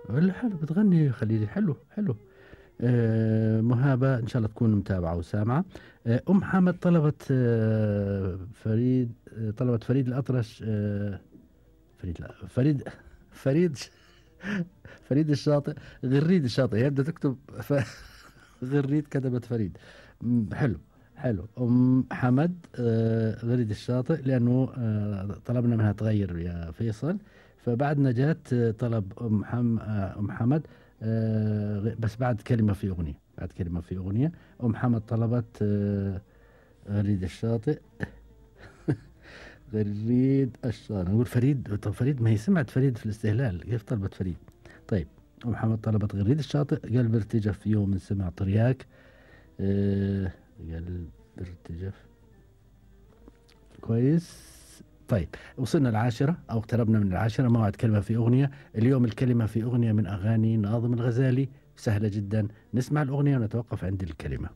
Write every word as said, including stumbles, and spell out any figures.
والّا حلو بتغني خليجي حلو، حلو. آآ مهابة إن شاء الله تكون متابعة وسامعة. آآ أم حمد طلبت آآ فريد آآ طلبت فريد الأطرش آآ فريد لأ فريد فريد ش فريد الشاطئ غريد الشاطئ، هي بدها تكتب ف غريد كتبت فريد. إمم حلو، حلو. أم حمد آآ غريد الشاطئ لأنه آآ طلبنا منها تغيّر يا فيصل، فبعد نجاة آه، طلب أم حم آآ أم حمد آآ غ بس بعد كلمة في أغنية، بعد كلمة في أغنية. أم حمد طلبت آآ غريد الشاطئ غريد الشاطئ، نقول فريد طب فريد ما هي سمعت فريد في الاستهلال، كيف طلبت فريد؟ طيب. أم حمد طلبت غريد الشاطئ، قلب ارتجف في يوم من سمع ترياك. آآ قلب ارتجف. كويس. طيب وصلنا العاشرة أو اقتربنا من العاشرة، موعد كلمة في أغنية. اليوم الكلمة في أغنية من أغاني ناظم الغزالي، سهلة جدًا، نسمع الأغنية ونتوقف عند الكلمة.